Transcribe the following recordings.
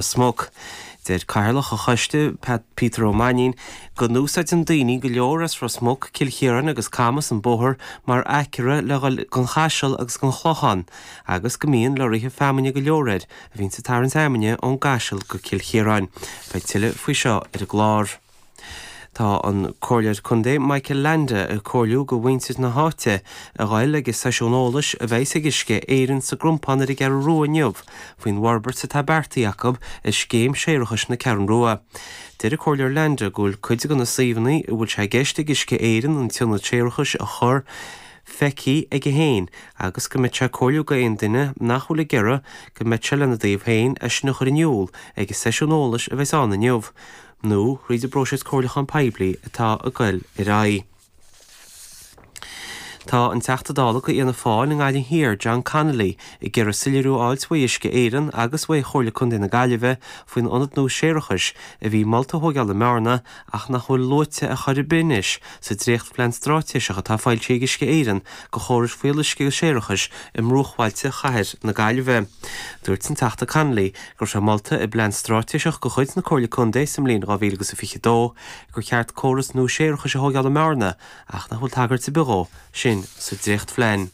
Ros Muc. Deir Cathaoirleach an choiste, Peter Ó Mainnín, go n-úsáideann daoine go leor as Ros Muc, Cill Chiaráin agus Camas an bóthar mar aicearra le dhul gon Chaiseal agus gon Chlochán agus go mbíonn lorraithe feamainne go leor air a bhíonns ag tarraingt fheamainne ón gCaiseal go Cill Chiaráin. Beidh tuilleadh faoi seo ar an gclár. Tá an Comhairleoir Contae Michael Leainde ag comhairliú go mhuintir na háite a ghoil ag an seisiún eolais a bheidhs ag Uisce Éireann sa gCrompán ar an gCeathrú Rua inniu faoin bhforbairt atá beartaithe acu ar scéim séarachais na Ceathrún Rua. Deir an Comhairleoir Leainde go bhfuil cuid de na suíomhanna a bhfuil sé i gceist ag Uisce Éireann an t-ionad séarachais a chur feicthe aige féin agus go mbeadh sé ag comhairliú go aon duine nach bhfuil ag iarraidh go mbeadh sé lena dtaobh féin é sin a chur in iúl ag an seisiún eolais a bheidhs ann inniu. nó thríd an bpróiseas comhairliúcháin poiblí atá ag goil ar aghaidh. Tá an Teachta Dála go Fhianna Fáil i nGaillimh Thiar, John Connolly, ag iarraidh soiléiriú a fháilt uaidh Uisce Éireann agus uaidh Chomhairle Contae na Gaillimhe faoin ionad nua séarachais a bhí molta a thóigeáil i mBearna ach nach bhfuil luaite ar chor ar bith anois sa dréachtphlean stráitéiseach atá foilsithe ag Uisce Éireann go chórais fuíolluisce agus séarachais i mbruachbhailte chathair na Gaillimhe. Dúirt an Teachta Connolly go raibh sé molta i bplean stráitéiseach de chuid na Comhairle Contae sa mbliain 2022 gur cheart córas nua séarachais a thóigeáil i mBearna ach nach bhfuil tagairt ar bith dhó sin sa dréachtphlean.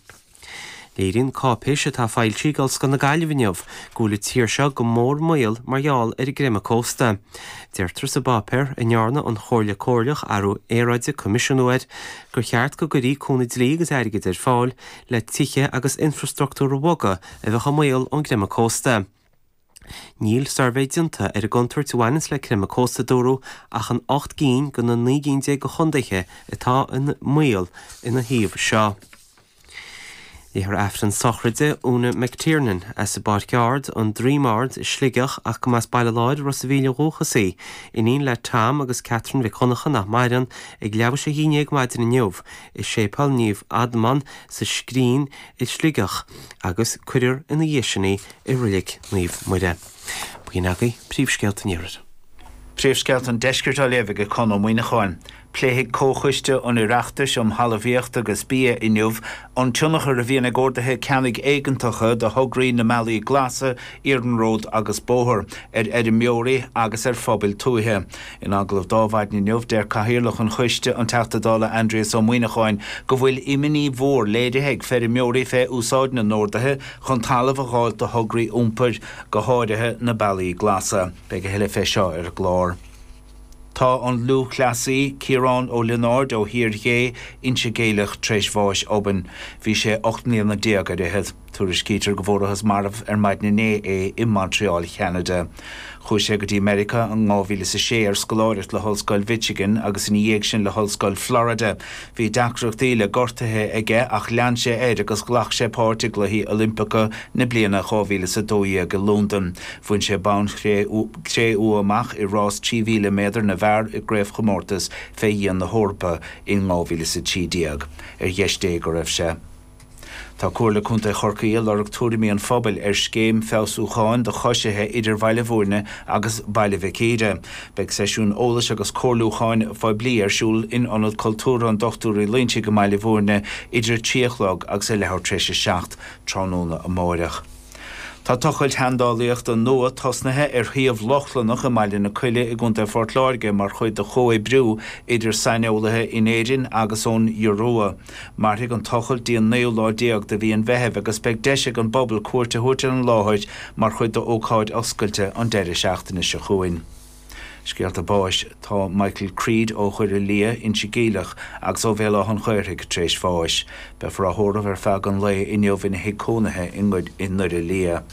Léiríonn cáipéis atá foilsithe ag Ollscoil na Gaillimhe inniu go bhfuil an tír seo go mór i mbaol mar gheall ar an gcreimeadh cósta. Deirtear sa bpáipéar, a ndearna an Chomhairle Comhairleach Athrú Aeráide coimisiúnú air, gur cheart go gcuirfí cúnamh dlí agus airgid ar fáil le tithe agus infreastruchtúr a bhogadh a bheadh i mbaol ón gcreimeadh cósta. Níl suirbhé déanta ar an gcontúirt a bhaineanns le creimeadh cósta, a dúradh, ach in 8 gcinn de na 19 gcinn de chontaetha atá i mbaol ina thaobh seo. Léifear Aifreann sochraide Úna McTiernan as an bPáirc Ard, An Droim Ard, Sligeach ach go mb'as Baile Láir, Ros a' Mhíl ó dhúchas í. Iníon le Tom agus Catherine Mhic Dhonncha nach maireann, ag leathuair théis a haon déag maidin inniu i Séipéal Naomh Adhamhnán sa Scrín i Sligeach agus cuirfear ina dhiaidh sin í i Reilig Naomh Muire. B'in agaibh príomhscéalta an Iarthair. Príomhscéalta an Deiscirt á léamh ag Conn Ó Muíneacháin. Pléifidh Comhchoiste an Oireachtais um Thalmhaíocht agus Bia inniu an tionchar a bhíonn ag orduithe ceannaigh éigeantacha do thograí na mBealaí Glasa, iarnród agus bóthar, ar fheirmeoirí agus ar phobail tuaithe. In agallamh d'Adhmhaidin inniu, deir Cathaoirleach an Choiste, an Teachta Dála Aindrias Ó Muíneacháin, go bhfuil imní mhór léirithe ag feirmeoirí fé úsáid na n-orduithe chun talamh a dh'fháilt do thograí iompair, go háirithe na Bealaí Glasa. Beidh a thuilleadh fé seo ar an gclár. Tá an lúthchleasaí Ciarán Ó Lionáird ó Thír Ghé, Inse Geimhleach tar éis bháis obainn. Bhí sé 18 mbliana ar fhichead. Tuairiscítear go bhfuarathas marbh ar maidin inné é i Montreal, Cheanada. Chuaigh sé go dtí Meiriceá in 2006 ar scoláireacht le hOllscoil Mhichigan agus ina dhiaidh sin le hOllscoil Florida. Bhí deacrachtaí le gortuithe aige ach lean sé air agus ghlac sé páirt i gCluichí Oilimpeacha na bliana 2012 i Londain. Bhain sé bonn cré-umha amach i rás 3,000 méadar na bhfear i gCraobhchomórtas fé dhíon na hEorpa in 2013. Ar dheis Dé go raibh sé. Tá Comhairle Contae Chorcaí ag lorg tuairimí an phobail ar scéim feabhsúcháin do choisithe idir Bhaile Bhúirne agus Baile Mhic Íre. Beidh seisiún eolais agus comhairliúcháin phoiblí ar siúl in Ionad Cultúrtha an Dochtúir Uí Loingsigh i mBaile Bhúirne idir 3 a chlog agus a leathuair tar éis a 7 tráthnóna amáireach. Tá tochailt sheandálaíochta nua tosnaithe ar shuíomh Lochlannach i mBaile na Coille i gContae Phort Láirge mar chuid de chomhoibriú idir saineolaithe in Éirinn agus ón Iorua. Mairfidh an tochailt dtí an naoú lá déag de mhí an Mheithimh agus beidh deis ag an bpobal cuairt a thabhairt ar an láthair mar chuid d'ócáid oscailte an deireadh seachtaine seo chugainn. Scéalta báis Tá Michael Creed ó Dhoire Liath, Inse Geimhleach, agus ó Bhéal Átha an Ghaorthaidh tar éis bháis. Beifear á thórramh ar feadh an lae inniu ina thigh cónaithe i nDoire Liath.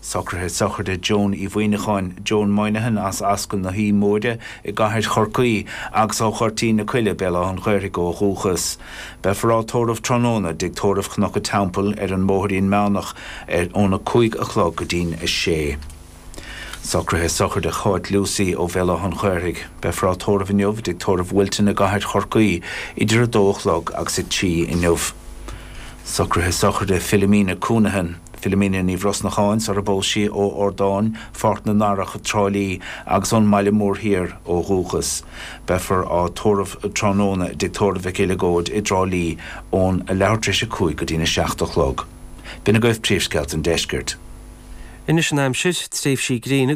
Socruithe sochraide Joan Uí Mhuineacháin, Joan Moynihan as Ascaill na hAoi Móire i gCathair Chorcaí agus ó Ghoirtín na Coille, Béal Átha an Ghaorthaidh ó dhúchas. Beifear á tórramh tráthnóna i dTigh Tórraimh Chnoc an Teampaill ar an mBóithrín Meánach ar óna 5 a chlog go dtí'n 6. Socruithe sochraide Cháit Lucey ó Bhéal Átha an Ghaorthaidh. Beifear á tórramh inniu i dTigh Tórraimh Wilton i gCathair Chorcaí idir 2 a chlog agus 3 inniu. Socruithe sochraide Philomena Counihan, Philomena Ní Bhrosnacháin sar a bpós sí ó Ardáin, Pháirc na nDarach, Trá Lí agus ón mBaile Mór Thiar ó dhúchas. Beifear á tórramh tráthnóna i dTigh Tórraimh Mhic Uileagóid i dTrá Lí ón a leathuair tar éis a 5 go dtí'n 7 a chlog. B'in agaibh príomhscéalta an deiscirt. Anois an aimsir, tréimhsí gréine agus.